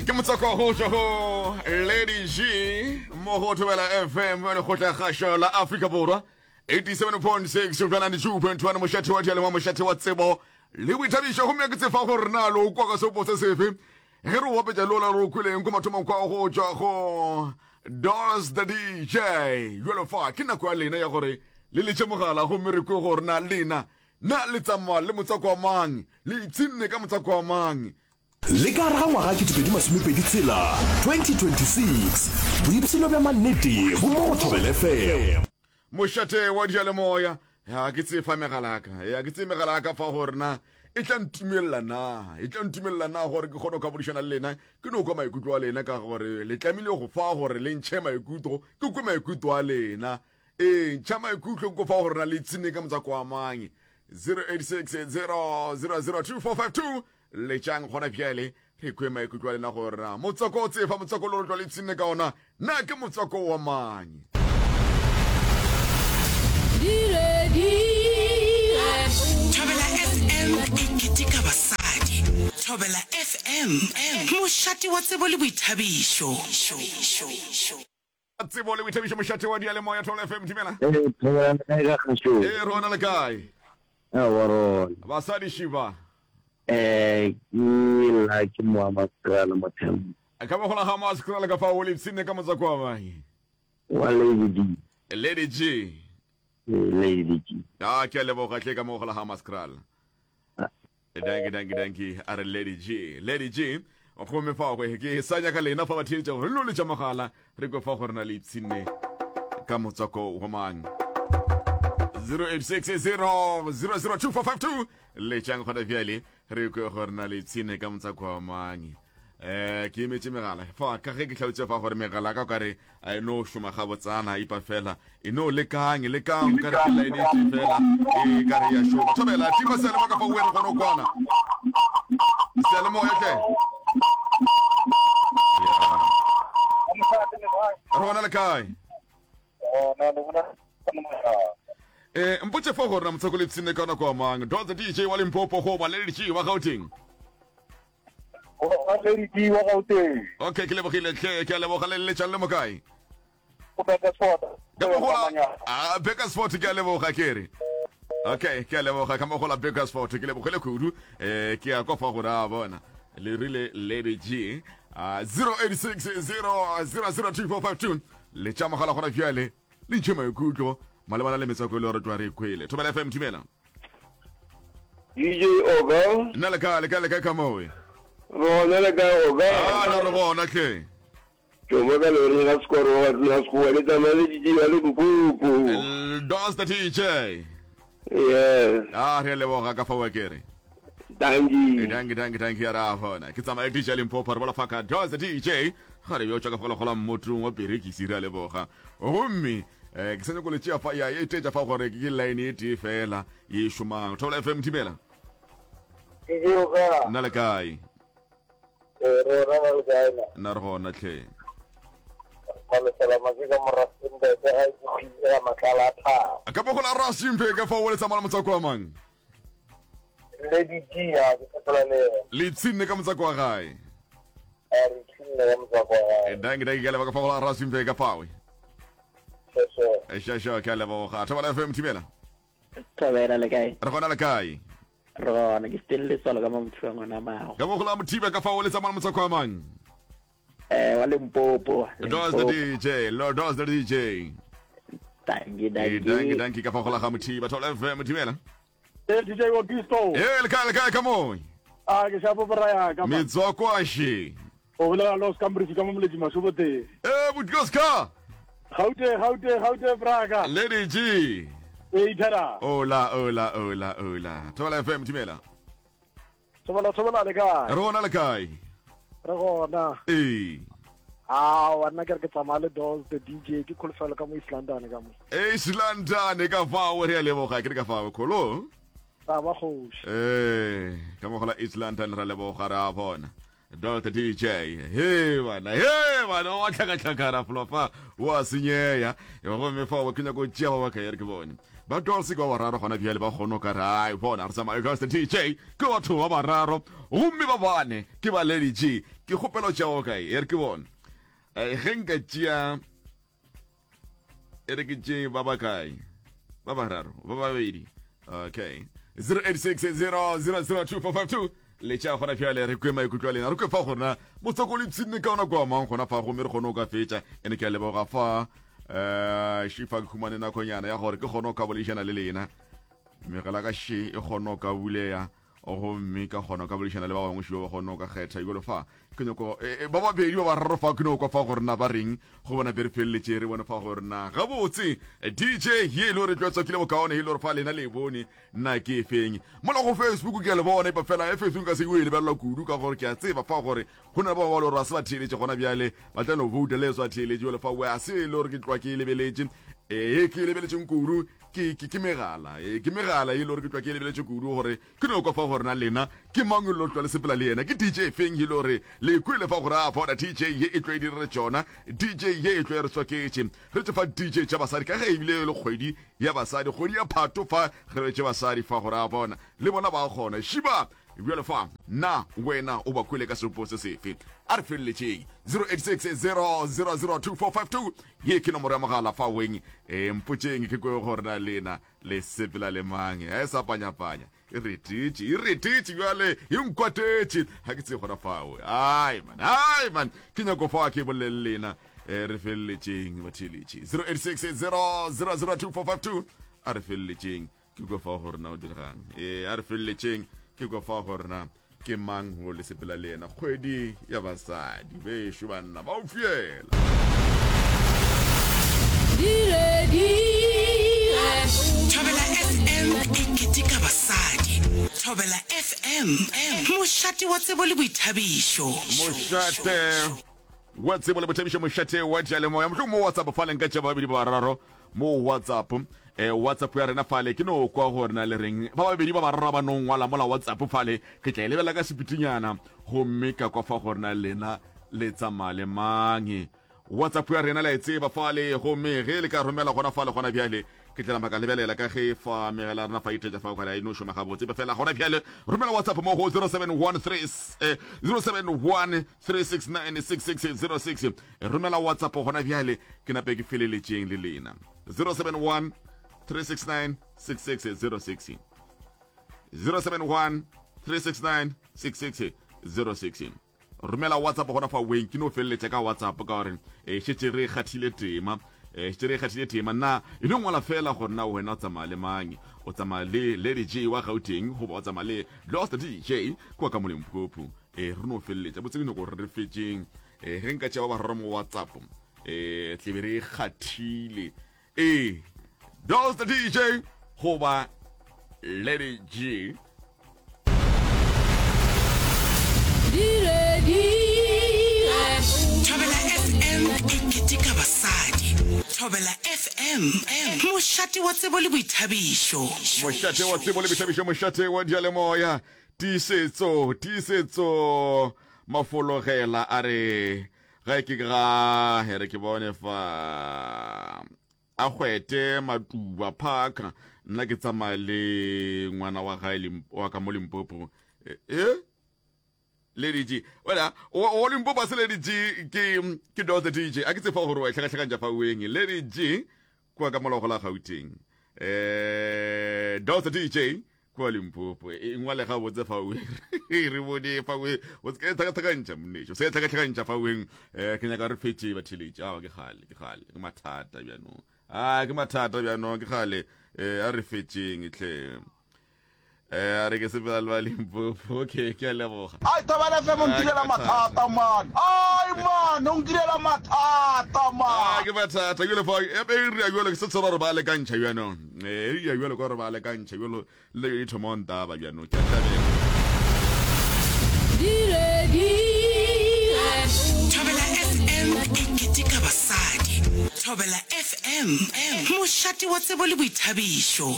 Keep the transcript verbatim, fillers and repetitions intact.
Ke motswako go tšwa go Lady G mo go Thobela F M, lekgotla kgašo la Afrika Borwa, eighty-seven point six go ninety-two point one, mošate wa dialema, mošate wa tsebo le boithabišo. Gomme ke tsefa gore na lo kwa ka seopo se sefe ge re o bapetša lola re o kweleng ko mathomong kwa go tšwa go Dos the D J. Jalo fa ke nako ya lena ya gore le letše mogala, gomme re kwe gore na lena na le tsamaya le motswako wa mang, le ipshinne ka motswako wa mang. Le ka gare ga ngwaga twenty twenty-six, twenty twenty-six, boipshino bja mannete bo mo go Thobela F M. Mošate wa diyalemoya. Ya ke tsefa megala ka, ya ke tseye megala ka fa gore na e tla ntumelela na e tla ntumelela na gore ke kgone go ka bodišana le lena, ke no kwa maikutlo a lena, ka gore le tlamehile go fa gore le ntšhe maikutlo, ke kwe maikutlo a lena. Ee, ntšha maikutlo ko fa gore na le tsene ka motswako wa mang. zero eight six zero zero zero two four five two, letšang gona bjale re kwe maikutlo a lena gore na motswako o tsefa, motswako le re tlo le ipshinne ka ona, na ke motswako wa mang. Thobela F M e keteka basadi. Thobela F M, mošate wa tsebo le boithabišo. Tsebo le boithabišo, mošate wa diyalemoya, Thobela F M, dumela. Ee, Thobela, le kae ka kgašong? Ee, rona le kae? Aowa, rona. Basadi šiba. Eh, ke la ke moa Maskrala Mothemba. Ka mogola ga Maskrala ka fa o le ipshinne ka motswako wa mang? Wa Lady G. Lady G. Ee, Lady G. A ke a leboga tle ka mogola ga Maskrala. Danki, danki, danki. A re Lady G, Lady G. Gomme fa go ke sa nyaka lena fa ba theetša gore lo letša mogala, re kwe fa gore na le ipshinne ka motswako wa mang. zero eight six zero zero zero two four five two, letšang gona bjale re kwe gore na le ipshinne ka motswako wa mang. um ke emetše megala fa ka ge ke tlhalotse fa gore megala ka kare a e no šoma gabotsana, ipa fela e no lekang lekang ka re ke line e tee fela e ka re ya šoma. Thobela, tima seyalemoya ka fa o re gone kwana seyalemoya tle. Re gona, le kae? eh mpotse fa gore na motswako le ipshinne ka nako wa mang, Dotse D J wa Limpopo goba Lady G wa Gauteng? Lady G wa Gauteng. Okay, ke lebogile tle, ke a leboga. Le letšang le mo kae? Go Bakersford. Ka mogola a Bakersford, ke a leboga. Ke re okay, ke a leboga ka mogola Bakersford, ke lebogile kudu. um ke a kofa gore a bona le rile Lady G. uh, zero eight six zero zero zero two four five two, le tša mogala gona bjale le ntšhe maikutlo malebana le metswako e le gore tloa re kwele. Thobela F M, thumela. D J Oga. Nna le kae, le kae, le kae ka mowe? Rona, le kae Oga? A na re gona tle. Ke mo ka loreng ga sekoro wa tla sekgowa le tsamaya le D J wa Limpopo. Dos the D J. Yes. A re a leboga ka fa wa kere. Dankie. Danki, danki, danki. Ya ra gona ke tsamaya D J Limpopo, re bola fa ka Dos the D J ga re yo tšwa ka gola mmotong wa perekisi. Re a leboga. Gomme um ke sa nyako le tšea fa ya e tetša fa gore ke line e tee fela ye e šomang. Thobela F M, thibela. D J Oga. Nna le kae? Eh, rona, le kae na? Nna re gona tlhe. Malesela ke ka mo Rustenburg ga ke kgwile matlala a thaba. Ka bogola Rustenburg ka fa o le tsamaya le motswako wa mang? Lady G ya ke sepela le yena. Le ipshinne ka motswako wa gae? A re tšhinne ka motswako wa gae. Danki, danki, ke a leboga ka fa gola Rustenburg ka fawe. Sure. Šaša, ke a leboga. Thobela F M, thibela. Thobela, le kae? Re gona, le kae? Re gona, ke Stanley Letswalo ka Mamothiba ngwana mago. Ka bogola Mothiba ka fa o le tsamaya le motswako wa mang? Eh, wa Limpopo. Dos the D J, Lord Dos the D J. Dankie. Eh, danki. Dankie. Danki ka fa gola ga Mothiba. Thobela F M, thibela. Eh, D J Augusto. Ee, le kae, le kae ka moe? A ke shapo boraya ka. Metswako a še. O bolela lo Scambridge ka mo moletši mašobote. Ee, botioska. Gaute, Gaute, Gaute braka. Lady G. E ithera. Ola, ola, ola, ola. Thobela F M, thibela. Thobela, thobela, le kae? Re gona, le kae? Re gona. Ee. Ah, wa nna ke re ke tsamaya le Dolls the D J, ke kholofelo ka mo East London ka mo. East London ka fao, re a leboga ke re ka fao kholo. Taba kgoši. Ee, ka mogola East London, ra leboga, re a bona. Dolls the D J, he bana, he bana, wa tlhakatlhakana flofa wa senyeya. Gomme fao ke nyako tšea ba ba kae, re ke bone. Ba Dolce ke ba bararo gona bjale ba kgone ka re ai bona re tsamaya ka D J ke batho ba bararo gomme ba bane ke ba Lady G. Ke kgopelo tšeo kae e re ke bone ge nka tšea e re ke tšee ba bakae ba bararo ba babedi okay zero eight six zero zero zero two four five two le tša gona bjale re kwe maikutlo a lena re kwe fa gona motswako le ipshinne ka ona kwa mang gona fa gomme re kgone go ka fetša ene ke a leboga fa um šifa ke humane nakonyana ya gore ke kgone go ka boledišana le lena megala ka še e kgone go ka buleya gomme ka kgona ka boledišana le ba bangwe šiba ba kgone go ka kgetha jalo fa ke nyako ba babedi ba bararo fa ke nyako fa gore na ba reng go bona be re feleletše re bone fa gore na gabotse D J ye e le gore tlwatswakile bokaone e le gore fa lena le e bone nna ke e feng mola go Facebook ke a le bona epa fela e Facebook ka se o e lebelela kudu ka gore ke a tseba fa gore go na le ba ba le gore ba se ba theeletše gona bjale ba tla no vouta le swa theeletše jalo fa we a se e le gore ke tlwa ke e lebeletše e ke e lebeletšeng kudu ke ke ke megala e ke megala e le gore ke tlwa ke e lebeletše kudu gore ke no kwa fa gore na lena ke mang lo tlwa le sepela le yena ke D J feng e le gore le kwele fa gore a bona D J ye e tlo e direre tšona D J ye e tlo e re tswaketše re tše fa D J tša basadi ka ge ebile e le kgwedi ya basadi kgwedi ya phato fa re tše basadi fa gore a bona le bona ba kgona šiba bjale fa na wena o ba kwele ka sepo se sefe a re feleletšeng zero eight six zero zero zero two four five two ye ke nomoro ya mogala fa weng e mpotšeng ke kwe gore na lena le sepela le mang e sa panyapanya e retetše e retetše bjale e nkwatetše ga ke tseye gona fao ai man ai man ke nyako fa ke bolele lena e re feleletšeng batheeletše zero eight six zero zero zero two four five two a re feleletšeng ke kwa fa gore na o diregang e a re feleletšeng ke kwa fa gore na ke mang go le sepela le yena kgwedi ya basadi bešo banna ba o fiela. Thobela F M e keteka basadi. Thobela F M, mošate wa tsebo le boithabišo. Mošate wa tsebo le boithabišo, mošate wa diyalemoya. Mohlomong mo WhatsApp fale nka tšea babedi ba bararo mo WhatsApp. Eh, WhatsApp ya rena fale ke no kwa gore na le reng ba babedi ba bararo ba no ngwala mola WhatsApp fale ke tla e lebelela ka sepitinyana gomme ka kwa fa gore na lena le tsamaya le mang. WhatsApp ya rena la e tseba fale gomme ge le ka romela gona fale gona bjale ke tla maka lebelela ka ge fa megala rena fa ithetša fa o e no šoma gabotse fela gona bjale romela WhatsApp mo go zero seven one three zero seven one three six nine six six zero six romela WhatsApp gona bjale ke nape ke feleletšeng le lena zero seven one three six nine six six zero six zero seven one three six nine six six zero six romela WhatsApp gona fa weng ke no feleletša ka WhatsApp ka gore e šetše re kgathile tema e šetše re kgathile tema nna e no ngwala fela gore na wena o tsamaya le mang o tsamaya le Lady G wa Gauteng goba o tsamaya le Lost D J kwa ka Molemphopho e re no feleletša botse ke nyako gore re fetšeng e ge nka tšea ba bararo mo WhatsApp e tlebe re kgathile e Lost D J goba Lady G. Thobela F M e keteka basadi. Thobela F M, mošate wa tsebo le boithabišo. Mošate wa tsebo le boithabišo, mošate wa diyalemoya. Tiisetso, tiisetso mafologela a re ga ke ga here ke bone fa a kgwete Matuba Park nna ke tsamaya le ngwana wa gae wa ka mo Limpopo e Lady G wena o Limpopo se Lady G ke ke Dotse D J a ke tsefa gore wa tlhakatlhakantša fa weng Lady G kwa ka molago la Gauteng eh Dotse D J kwa Limpopo e ngwale ga botse fa weng re bone fa weng o se tlhakatlhakantša monnetšo se tlhakatlhakantša fa weng eh ke nyaka re fetše ba theletše a ke gale ke gale ke mathata bjanong a ke mathata bjanong ke gale eh a re fetšeng tle eh a re ke sepela le ba Limpopo okay ke a leboga. Ai Thobela F M o ntirela mathata man. Ai man o ntirela mathata man. A ke mathata jalo fa e be re jalo ke se tsora re ba le kantšha bjanong eh re jalo ka re ba le kantšha jalo le e thoma ntaba bjanong ke a tlabela. Thobela F M e keteka basadi. Thobela F M, mošate wa tsebo le boithabišo.